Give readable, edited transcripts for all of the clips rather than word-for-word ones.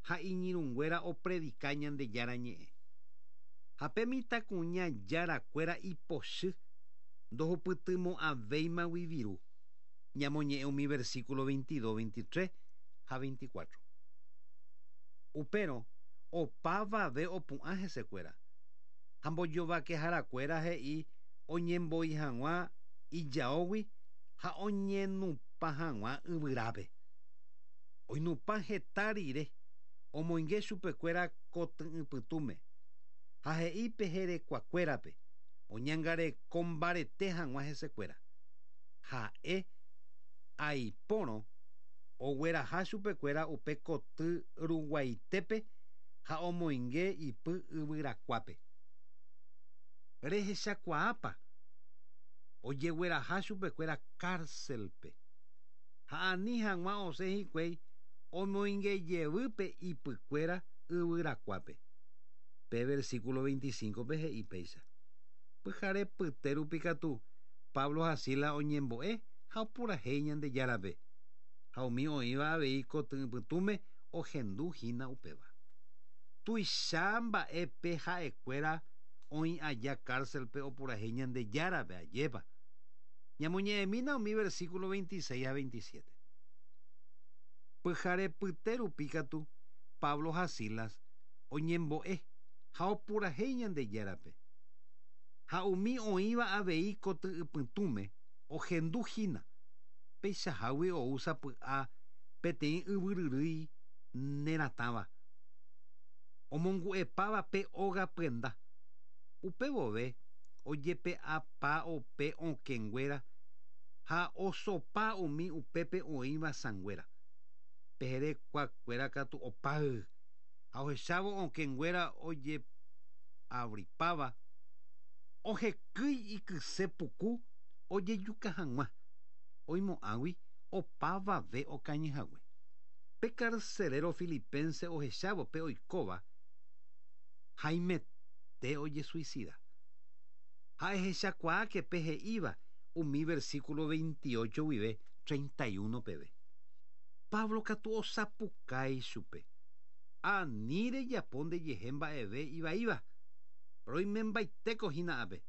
ha iñirũnguéra opredika Ñandejára Ñe'ẽ. Ha pe mitãkuña járakuéra ipochy ndohupytymo'ãvéimagui viru. Ñamoñe'ẽ umi versículo 22, 23 ha 24. Upérõ opavave opu'ã hesekuéra. Ha mbojovakeharakuéra he'i oñemboi hag̃ua ijaógui ha oñenupã hag̃ua yvyrápe. Oinupã heta rire, omoinge chupekuéra koty'ỹpytũme, ha he'i pe herekuakuérape oñangareko mbarete hag̃ua hesekuéra. Ha'e aipórõ ogueraha chupekuéra upe koty ruguaitépe ha omoinge ipy yvyrakuápe. Rehechakuaápa? Ojegueraha chupekuéra cárcel-pe. Ha ani hag̃ua osẽ hikuái omoinge jevy pe ipykuéra yvyrakuápe. Pe versículo 25-pe he'i péicha, Pyhare pyte rupi katu Pablo ha Silas oñembo'e ha opurahéi Ñandejárape, ha umi oĩva avei koty'ỹpytũme ohendu hína upéva. Tuicha mba'e pe ha'ekuéra oĩ aja cárcel-pe opurahéi Ñandejárape, ajépa? Ñamoñe'ẽmína umi versículo 26 ha 27. Pyhare pyte rupi katu Pablo ha Silas oñembo'e ha opurahéi Ñandejárape. Ha umi oĩva avei koty'ypytũme ohendu hína, peichahágui ou sapy'a peteĩ yvyryrýi neratãva, omongu'epáva pe óga pyenda. Upe vove ojepe'apa ope okẽnguéra ha osopa umi upépe oĩva sãnguéra. Pe herekuakuéra katu opáy, ha ohechávo okẽnguéra ojeavripáva, ohekýi ikyse puku ojejuka hag̃ua, oimo'ãgui opavave okañyhague. Pe carcelero filipense ohechávo pe oikóva, haimete ojesuicida. Ha ehechakuaáke pe he'íva umi versículo 28 guive 31 peve. Pablo katu osapukái chupe, Ani rejapo ndejehe mba'eve ivaíva, roimembaitéko hína ápe.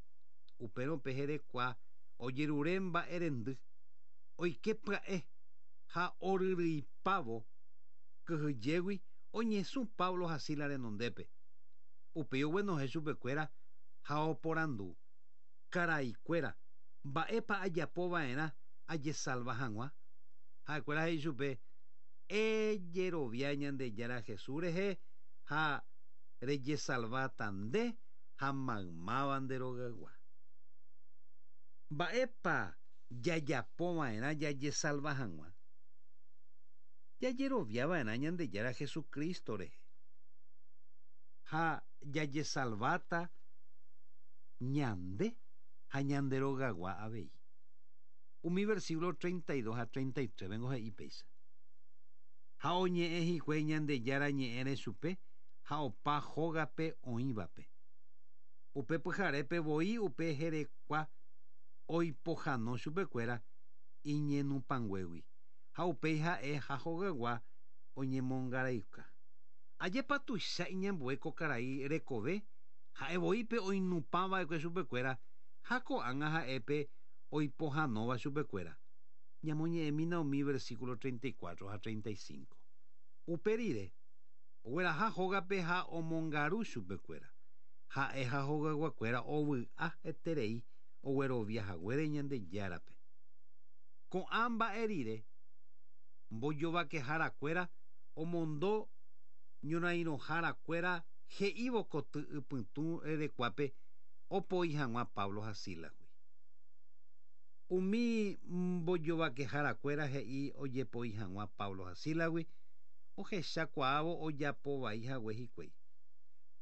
Upérõ pe herekua ojerure mba'erendy, oike pya'e ha oryryipávo kyhyjégui oñesũ Pablo ha Silas renondépe. Upéi oguenohẽ chupekuéra ha oporandu, Karaikuéra, mba'épa ajapo va'erã ajesalva hag̃ua? Ha'ekuéra he'i chupe, Ejerovia Ñandejára Jesús rehe ha rejesalváta nde ha maymáva nde rogaygua. Mba'épa jajapo va'erã jajesalva hag̃ua? Jajerovia va'erã Ñandejára Jesucristo rehe ha jajesalváta ñande ha ñande rogaygua avei. Umi versículo 32 ha 33 vengo he'i péicha. Ha oñe'ẽ hikuái Ñandejára ñe'ẽre chupe ha opa hógape oĩvape. Upe pyharépe voi upe herekua oipohano chupekuéra iñenupãnguégui, ha upéi ha'e ha hogaygua oñemongaraiuka. Ajépa tuicha iñambue ko karai rekove, ha'e voi pe oinupã va'ekue chupekuéra ha ko'ág̃a ha'e pe oipohãnóva chupekuéra. Ñamoñe'ẽmína umi versículo 34 ha 35. Upe rire, ogueraha hógape ha omongaru chupekuéra. Ha'e ha hogayguakuéra ovy'a eterei oguerovia haguére Ñandejárape. Ko'ã mba'e rire, mbojovakeharakuéra omondo ñorairõharakuéra he'ívo koty ypytũ rerekuápe opoi hag̃ua Pablo ha Sílasgui. Umi mbojovakeharakuéra he'i ojepoi hag̃ua Pablo ha Sílasgui ohecha kuaávo ojapo vai hague hikuái.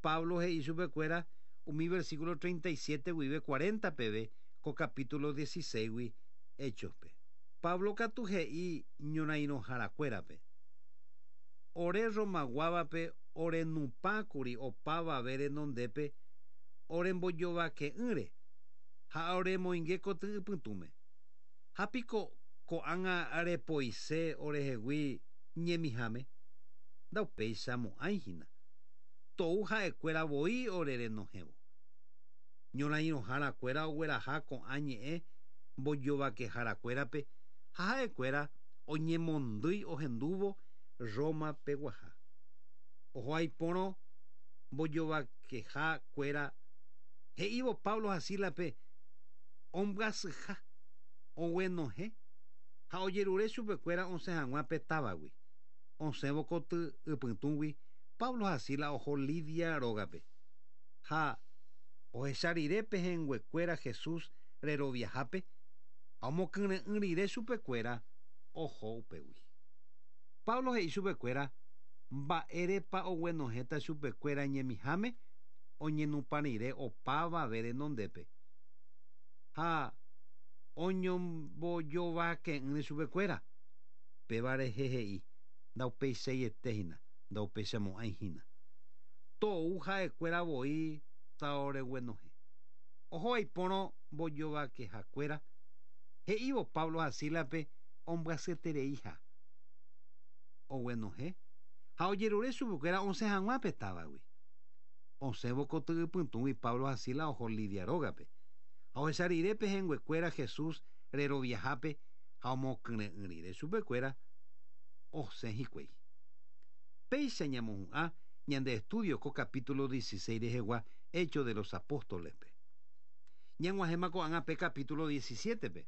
Pablo he'i chupekuéra umi versículo 37 guive 40 peve ko capítulo 16-gui Héchospe. Pablo katu he'i ñorairõharakuérape, Ore Romaguávape orenupãkuri opavave renondépe orembojovake'ỹre ha oremoinge koty'ypytũme. Ha piko ko'ág̃a repoise orehegui ñemiháme? Ndaupeichamo'ãihína. Tou ha'ekuéra voi orerenohẽvo. Ñorairõharakuéra ogueraha ko'ã ñe'ẽ mbojovakeharakuérape ha ha'ekuéra oñemondýi ohendúvo Roma peguaha. Oho aipórõ mbojovakehakuéra he'ívo Pablo ha Sílaspe ombyasyha, oguenohẽ ha ojerure chupekuéra osẽ hag̃ua pe távagui. Osẽvo koty ypytũgui, Pablo ha Silas oho Lidia rógape. Ha ohecha rire pehẽnguekuéra Jesús reroviahápe ha omokyre'ỹ rire chupekuéra, oho upégui. Pablo he'i chupekuéra mba'érepa oguenohẽta chupekuéra ñemiháme oñenupã rire opavave renondépe ha oñombojovake'ỹre chupekuéra. Péva rehe he'i, Ndaupeichaiete hína, ndaupeichamo'ãi hína. Tou ha'ekuéra voi taoreguenohẽ. Oho aipórõ mbojovakehakuéra, he'ívo Pablo ha Sílaspe ombyasyetereiha. Oguenohẽ ha ojerure chupekuéra osẽ hag̃ua pe távagui. Osẽvo koty ypytũgui Pablo ha Silas oho Lidia rógape. Ha ohecha rire pehẽnguekuéra Jesús reroviahápe ha omokyre'ỹ rire chupekuéra, osẽ hikuái. Péicha ñamohu'ã ñande estudio ko capítulo 16 rehegua Hechos de los Apóstoles-pe. Ñag̃uahẽma ko'ág̃a pe capítulo 17-pe.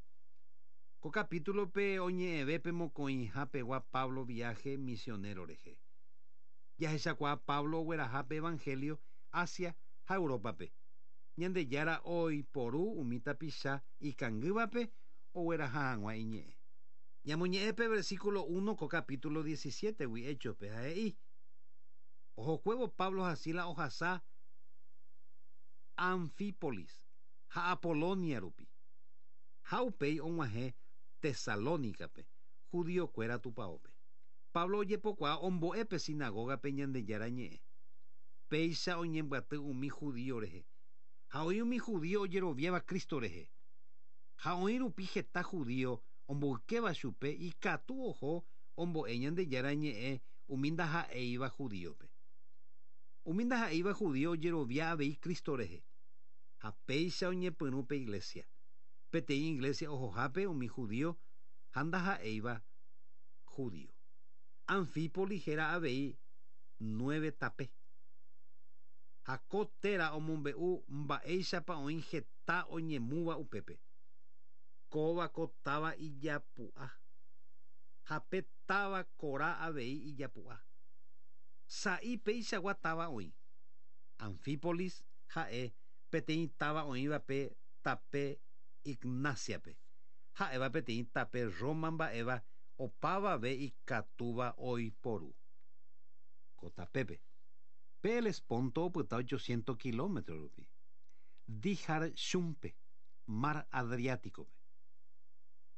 Ko capítulo-pe oñe'ẽve pe mokõiha pegua Pablo viaje misionero rehe. Jahechakuaa Pablo ogueraha pe evangelio Asia ha Europa-pe. Ñandejára oiporu umi tapicha ikangývape ogueraha hag̃ua iñe'ẽ. Ñamoñe'ẽ pe versículo uno ko capítulo 17-gui Hechos-pe ha he'i, Ohokuévo Pablo ha Silas ohasa Anfípolis ha Apolonia rupi, ha upéi og̃uahẽ Tesalónicape, judiokuéra tupaópe. Pablo ojepokuaa ombo'e pe sinagógape Ñandejára Ñe'ẽ. Péicha oñembyaty umi judío rehe, ha oĩ umi judío ojeroviáva Cristo rehe. Ha oĩ rupi heta judío omboykéva chupe ikatu oho ombo'e Ñandejára Ñe'ẽ umi ndaha'éiva judíope. Umi ndaha'éiva judío ojerovia avei Cristo rehe. Ha péicha oñepyrũ pe iglésia. Peteĩ iglésia ohohápe umi judío ha ndaha'éiva judío. Anfípoli héra avei Nueve Tape. Ha ko téra omombe'u mba'éichapa oĩ heta oñemúva upépe. Kóva ko táva ijapu'a. Ha pe táva kora avei ijapu'a. Sa'i peichagua táva oĩ. Anfípolis ha'e peteĩ táva oĩva pe tape Ignacia-pe, ha'éva peteĩ tape Roma mba'éva opavave ikatúva oiporu. Ko tapépe, pe Helesponto opyta ochocientos kilómetro rupi, Dyrrachium-pe, mar Adriático-pe.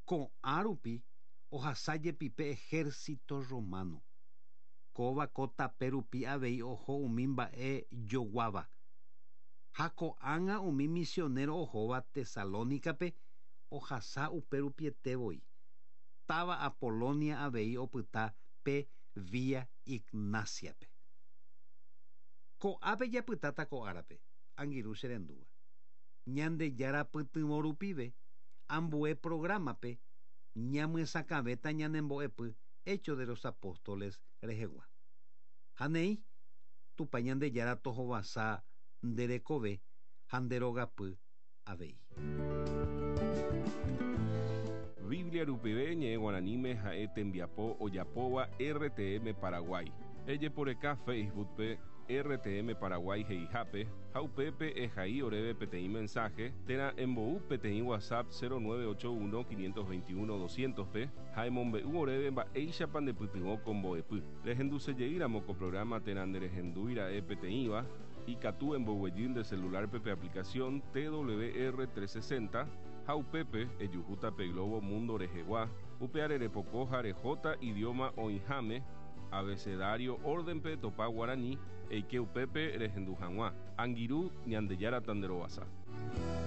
Ko'ã rupi ohasa jepi pe ejército romano. Kóva ko tape rupi avei oho umi mba'e joguáva. Ha ko'ág̃a umi misionero ohóva Tesalónicape ohasa upe rupiete voi. Táva Apolonia avei opyta pe Vía Ignacia-pe. Ko'ápe japytáta ko árape, angirũ che rendúva. Ñandejára pytyvõ rupive, ambue programa-pe ñamyesakãvéta ñane mbo'epy Hechos de los Apóstoles rehegua. Ha néi, Tupã Ñandejára tohovasa nde rekove ha nde rogapy avei. Biblia rupive ñe'ẽ guaraníme ha'e tembiapo ojapóva RTM Paraguay. Ejeporeka Facebook-pe RTM Paraguay he'ihápe ha upépe ehai oréve peteĩ mensaje térã embou peteĩ WhatsApp 0981 521 200-pe ha emombe'u oréve mba'éichapa ndepytyvõ ko mbo'epy. Rehendusejeýramo ko programa térã nderehendúi ra'e peteĩva, ikatu emboguejy nde celular-pe pe aplicación TWR 360 ha upépe ejuhúta pe globo mundo rehegua, upeare repoko ha rehóta idioma oĩháme, abecedario orden-pe etopa guarani, eike upépe rehendu hag̃ua. Angirũ, Ñandejára tanderovasa.